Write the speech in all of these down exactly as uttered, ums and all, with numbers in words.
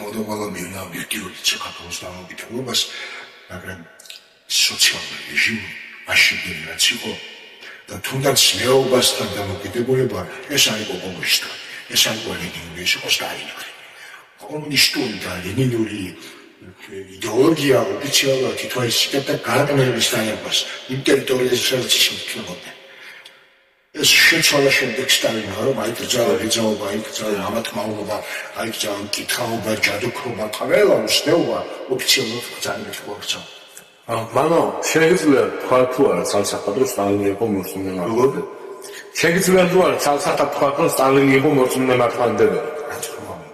თქოდა ყველა მივნა ობიექტიური საქართველოს დამოუკიდებლობას, მაგრამ სოციალური რეჟიმი აშენდა რაც იყო და თუნდაც მეუბასთან დამოუკიდებლობა ეს არის კომუნისტი, ეს არის ლენინური, ეს იყო სტალინური. კომუნისტური და ლენინური იდეოლოგია ოფიციალურად ითვალისწინებდა გარდამეობის დაებას იმ ტერიტორიაზე, სადაც შექმნებოდა. ეს შეცვალა შემდეგ სტალინმა, რომ აიკრძალა ეძაობა, აიკრძალა ამათმავლობა, აიკრძალა მკითხაობა, ჯადოქრობა, ყველა უსნეობა ოფიციალურად ბრძანებით მოექცა. მანო, შეიძლება თქვა თუ არა ცალსახადრო სტალინი იყო მორწმუნე მართლმადიდებელი? შეიძლება თუ არა ცალსახადრო თქვა რომ სტალინი იყო მორწმუნე მართლმადიდებელი? რა თქმა უნდა.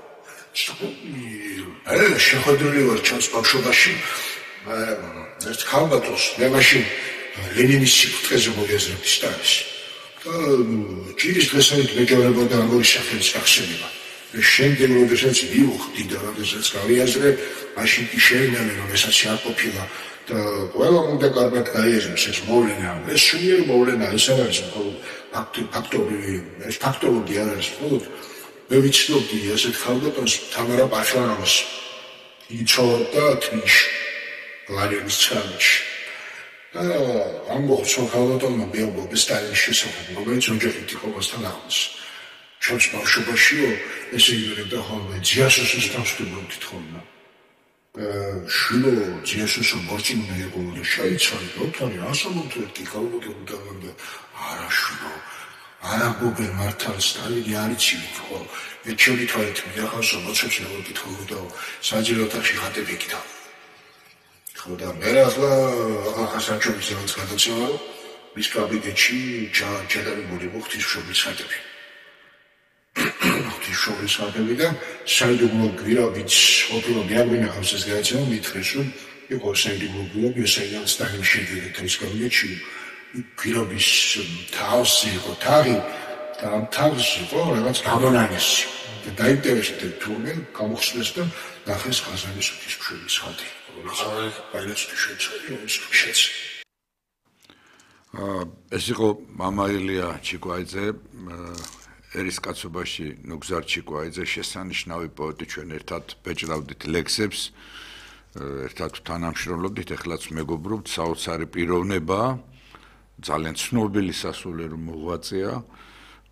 ეს შეხვედრილი ვარ ჩემს ბავშვობაში. ერთ ქალბატონს მე მაშინ ლენინის სიკვდილზე მოგეზრებდი სტალის. ჭირის დღესავით მეგებრებოდა ამორი სახელის ახსენება. შემდეგ როდესაც მივხვდი და როდესაც გავიაზრე, მაშინ კი შეინამე რომ ესაც არ ყოფილა და ყველა უნდა კარგად გაიაზროს ეს მოვლენა. ეს სულიერ მოვლენა ეს არ არის მხოლოდ ფაქტობრივი, ეს ფაქტოლოგია არ არის მხოლოდ. მე ვიცნობდი ასეთ ქალბატონს თამარა პაშლანოვას. იცოდა თბილისში, ლარიონის ცხრამეტში. ამბობს, რომ ქალბატონმა მეუბნება სტალინის შესახებ, რომელიც ოჯახით იყო მასთან ახლოს. ჩემს ბავშვობაშიო ესე იგივე ხოლმე ძიასოსის დამსვიდებლობით თხოვნა. შვილო ძიასოსო მორწმუნე იყო და შეიცვალა და ოთარი ასამართლოდ კი ქალბატონმა და არა შვილო, არა გოგე მართალ სტალინი არ იცით ხო? ეჩვენი თვალით მიახავსო მოცემს მოგითხოვდა საჯარო ოთახში ხატები იქდა. და მე ახლა ახასანჩოვის ზემოთ გადაცემა რომ მის კაბინეტში ჩადარებული ღვთისმშობლის ხატები. ღვთისმშობლის ხატები და საიდუმლო გვირაბიც ყოფილა მეაგვინახავს ეს გადაცემა მითხრეს რომ იყო საიდუმლო გვირაბი საიდანაც სტალინის შედგენით ის კაბინეტში გვირაბის თავსი იყო თაღი და ამ თაღში იყო რაღაც გამონანესი და დაინტერესდა თურმე გამოხსნეს და ნახეს ყაზანის ღვთისმშობლის ხატი. ეს იყო მამა ილია ჩიკვაიძე, ერის კაცობაში ნუგზარ ჩიკვაიძე, შესანიშნავი პოეტი, ჩვენ ერთად ბეჭდავდით ლექსებს, ერთად თანამშრომლობდით, ეხლაც მეგობრობთ, საოცარი პიროვნება, ძალიან ცნობილი სასულიერო მოღვაწეა,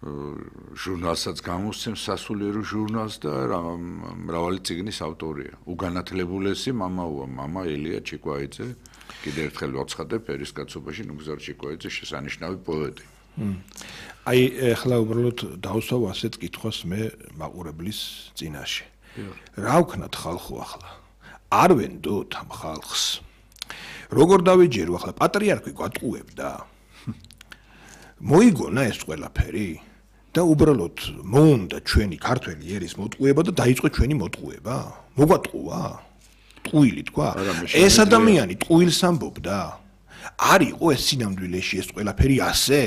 ჟურნალსაც გამოსცემს სასულიერო ჟურნალს და მრავალი წიგნის ავტორია. უგანათლებულესი მამაოა, მამა ილია ჩიკვაიძე, კიდევ ერთხელ ვაცხადებ, ერის კაცობაში ნუგზარ ჩიკვაიძე შესანიშნავი პოეტი. აი, ახლა უბრალოდ დავსვავ ასეთ კითხვას მე მაყურებლის წინაშე. რა ვქნათ ხალხო ახლა? არ ვენდოთ ამ ხალხს. როგორ დავეჯერო ახლა პატრიარქი გვატყუებდა? მოიგონა ეს ყველაფერი და უბრალოდ მოუნდა ჩვენი ქართველი ერის მოტყუება და დაიწყო ჩვენი მოტყუება. მოგვატყუა? ტყუილი თქვა? ეს ადამიანი ტყუილს ამბობდა? არ იყო ეს სინამდვილეში ეს ყველაფერი ასე?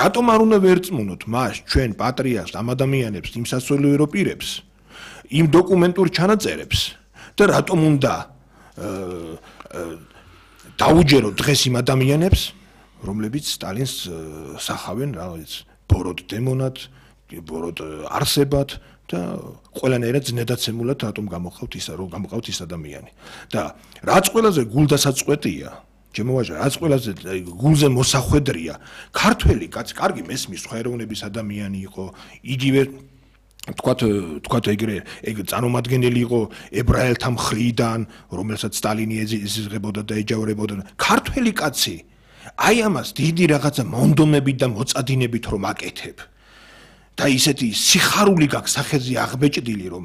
რატომ არ უნდა ვერწმუნოთ მას ჩვენ პატრიარქს ამ ადამიანებს, იმ სასულიერო პირებს, იმ დოკუმენტურ ჩანაწერებს და რატომ უნდა დაუჯეროთ დღეს იმ ადამიანებს რომლებიც სტალინს სახავენ რაღაც ბოროტ დემონად, ბოროტ არსებად და ყველანაირად ზნედაცემულად რატომ გამოხავთ ის რომ გამოყავთ ის ადამიანი. და რაც ყველაზე გულდასაწყვეტია, ჩემო ვაჟა, რაც ყველაზე გულზე მოსახვედრია, ქართველი კაცი, კარგი მესმის სხვა ეროვნების ადამიანი იყო, იგივე თქვათ თქვათ ეგრე ეგ წარმომადგენელი იყო ებრაელთა მხრიდან, რომელსაც სტალინი ეზიზღებოდა და ეჯავრებოდა. ქართველი კაცი აი ამას დიდი რაღაცა მონდომებით და მოწადინებით რომ აკეთებ და ისეთი სიხარული გაქვს სახეზე აღბეჭდილი რომ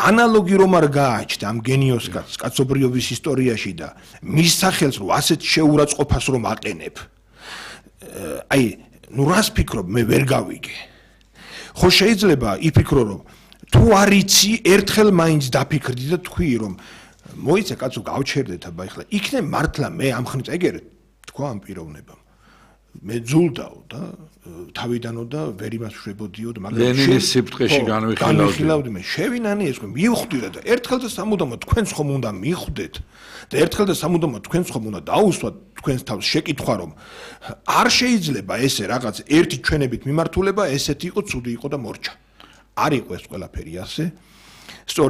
ანალოგი რომ არ გააჩნდა ამ გენიოს კაცს კაცობრიობის ისტორიაში და მის სახელს რომ ასეთ შეურაცხყოფას რომ აყენებ აი ნუ რას ფიქრობ მე ვერ გავიგე ხო შეიძლება იფიქრო რომ თუ არ იცი ერთხელ მაინც დაფიქრდი და თქვი რომ მოიცა კაცო გავჩერდეთ აბა ეხლა იქნებ მართლა მე ამ ხნით ეგერ თქვა ამ პიროვნებამ მე ძულდაო და თავიდანო და ვერ იმას შვებოდიო და მაგრამ ლენინის სიბრტყეში განვიხილავდი მე შევინანი ეს რომ მივხვდით და ერთხელ და სამუდამოდ თქვენს ხომ უნდა მიხვდეთ და ერთხელ და სამუდამოდ თქვენს ხომ უნდა დაუსვათ თქვენს თავს შეკითხვა რომ არ შეიძლება ესე რაღაც ერთი ჩვენებით მიმართულება ესეთი იყო ცუდი იყო და მორჩა არ იყო ეს ყველაფერი ასე სწორედ